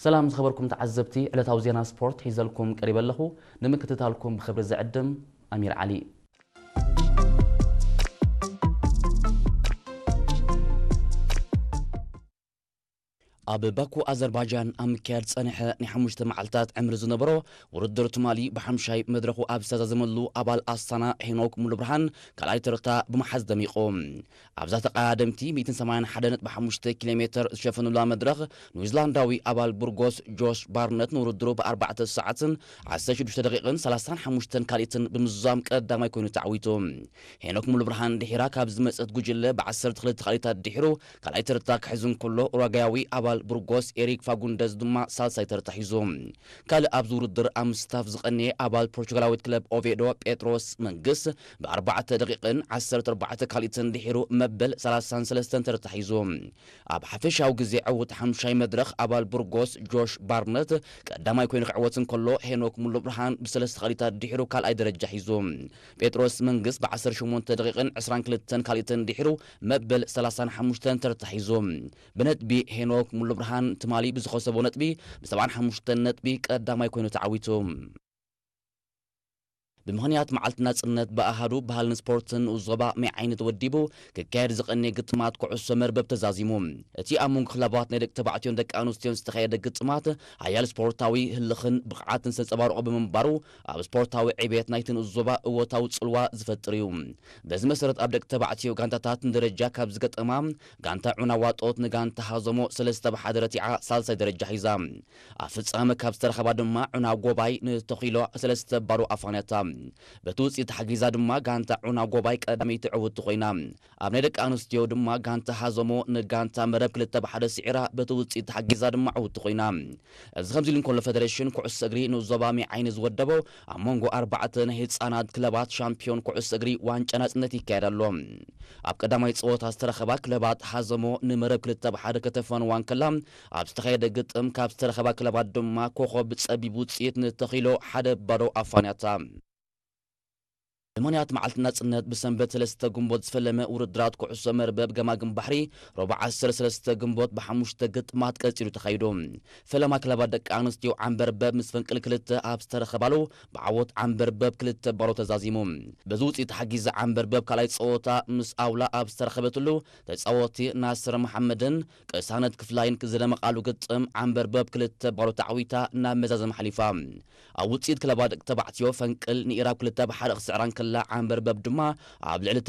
ሰላም ዝኸበርኩም ተዓዘብቲ፣ ዕለታዊ ዜና ስፖርት ሒዘልኩም ቀሪበ ኣለኹ። ንምክትታልኩም ብኽብሪ ዝዕድም ኣሚር ዓሊ። ኣብ ባኩ ኣዘርባጃን ኣብ ምክያድ ጸንሐ ናይ ሓሙሽተ መዓልታት ዕምሪ ዝነበሮ ውድድር ትማሊ ብሓምሻይ መድረኹ ኣብ ዝተዛዘመሉ ኣባል ኣስታና ሄኖክ ሙሉብርሃን ካልኣይ ተርታ ብምሓዝ ደሚቑ። ኣብዛ ተቐዳደምቲ ሚእትን ሰማንያን ሓደን ነጥቢ ሓሙሽተ ኪሎ ሜትር ዝሸፈኑላ መድረኽ ኒውዚላንዳዊ ኣባል ቡርጎስ ጆሽ ባርነት ንውድድሩ ብኣርባዕተ ሰዓትን ዓሰርተ ሽዱሽተ ደቂቕን ሰላሳን ሓሙሽተን ካልኢትን ብምዝዛም ቀዳማይ ኮይኑ ተዓዊቱ። ሄኖክ ሙሉብርሃን ድሒራ ካብ ዝመጸት ጉጅለ ብዓሰርተ ክልተ ካልኢታት ድሒሩ ካልኣይ ተርታ ክሕዝ እንከሎ፣ ኡራጋያዊ ኣባል ቡርጎስ ኤሪክ ፋጉንደዝ ድማ ሳልሳይ ተርታ ሒዙ። ካልእ ኣብዚ ውድድር ኣብ ምስታፍ ዝቐነየ ኣባል ፖርቹጋላዊት ክለብ ኦቬዶ ጴጥሮስ መንግስ ብኣርባዕተ ደቂቕን ዓሰርተ ኣርባዕተ ካልኢትን ድሒሩ መበል ሰላሳን ሰለስተን ተርታ ሒዙ። ኣብ ሓፈሻዊ ግዜ ዕውት ሓምሻይ መድረኽ ኣባል ቡርጎስ ጆሽ ባርነት ቀዳማይ ኮይኑ ክዕወት እንከሎ፣ ሄኖክ ሙሉብርሃን ብሰለስተ ካልኢታት ድሒሩ ካልኣይ ደረጃ ሒዙ። ጴጥሮስ መንግስ ብዓሰርተ ሸሞንተ ደቂቕን ዕስራን ክልተን ካልኢትን ድሒሩ መበል ሰላሳን ሓሙሽተን ተርታ ሒዙ። ብነጥቢ ሄኖክ ሙሉብርሃን ትማሊ ብዝኸሰቦ ነጥቢ ብሰብዓን ሓሙሽተን ነጥቢ ቀዳማይ ኮይኑ ተዓዊቱ። ብምኽንያት መዓልቲ ናጽነት ብኣሃዱ ባህልን ስፖርትን ንኡስ ዞባ ማይ ዓይኒ ተወዲቡ ክካየድ ዝቐነየ ግጥማት ኩዕሶ መርበብ ተዛዚሙ። እቲ ኣብ መንጎ ክለባት ናይ ደቂ ተባዕትዮን ደቂ ኣንስትዮን ዝተኻየደ ግጥማት ሓያል ስፖርታዊ ህልኽን ብቕዓትን ዘንጸባረቑ ብምንባሩ ኣብ ስፖርታዊ ዕቤት ናይቲ ንኡስ ዞባ እወታዊ ጽልዋ ዝፈጥር እዩ። በዚ መሰረት ኣብ ደቂ ተባዕትዮ ጋንታታት ንደረጃ ካብ ዝገጠማ ጋንታ ዑና ዋጦት ንጋንታ ሃዘሞ ሰለስተ ብሓደ ረቲዓ ሳልሳይ ደረጃ ሒዛ። ኣብ ፍጻመ ካብ ዝተረኸባ ድማ ዑና ጎባይ ንተኺሎ ሰለስተ ባዶ ኣፋንያታ። በቲ ውጽኢት ተሓጊዛ ድማ ጋንታ ዑና ጎባይ ቀዳመይቲ ዕውቲ ኮይና። ኣብ ናይ ደቂ ኣንስትዮ ድማ ጋንታ ሃዘሞ ንጋንታ መረብ ክልተ ብሓደ ስዒራ በቲ ውጽኢት ተሓጊዛ ድማ ዕውቲ ኮይና። እዚ ከምዚ ኢሉ እንከሎ፣ ፈደሬሽን ኩዕሶ እግሪ ንኡስ ዞባ ማይ ዓይኒ ዝወደቦ ኣብ መንጎ ኣርባዕተ ናይ ህጻናት ክለባት ሻምፒዮን ኩዕሶ እግሪ ዋንጫ ናጽነት ይካየድ ኣሎ። ኣብ ቀዳማይ ጸወታ ዝተረኸባ ክለባት ሃዘሞ ንመረብ ክልተ ብሓደ ከተፋንዋ እንከላ፣ ኣብ ዝተኻየደ ግጥም ካብ ዝተረኸባ ክለባት ድማ ኮኸብ ብጸቢብ ውጽኢት ንተኺሎ ሓደ ባዶ ኣፋንያታ። ብምኽንያት መዓልቲ ናጽነት ብሰንበት ሰለስተ ግንቦት ዝፈለመ ውድድራት ኩዕሶ መርበብ ገማግም ባሕሪ ረቡዕ ዓሰርተ ሰለስተ ግንቦት ብሓሙሽተ ግጥማት ቀጺሉ ተኻይዱ። ፈለማ ክለባት ደቂ ኣንስትዮ ዓንበርበብ ምስ ፈንቅል ክልተ ኣብ ዝተረኸባሉ ብዓወት ዓንበርበብ ክልተ ባዶ ተዛዚሙ። በዚ ውጽኢት ተሓጊዘ ዓንበርበብ ካልኣይ ጸወታ ምስ ኣውላ ኣብ ዝተረኸበትሉ ተጻወቲ ናስር መሓመድን ቅሳነት ክፍላይን ዝደመቓሉ ግጥም ዓንበርበብ ክልተ ባዶ ተዓዊታ ናብ መዛዘሚ ሓሊፋ። ኣብ ውጽኢት ክለባት ደቂ ተባዕትዮ ፈንቅል ንኢራብ ክልተ ብሓደ ክስዕራ እንከላ ዓንበርበብ ድማ ኣብ ልዕሊ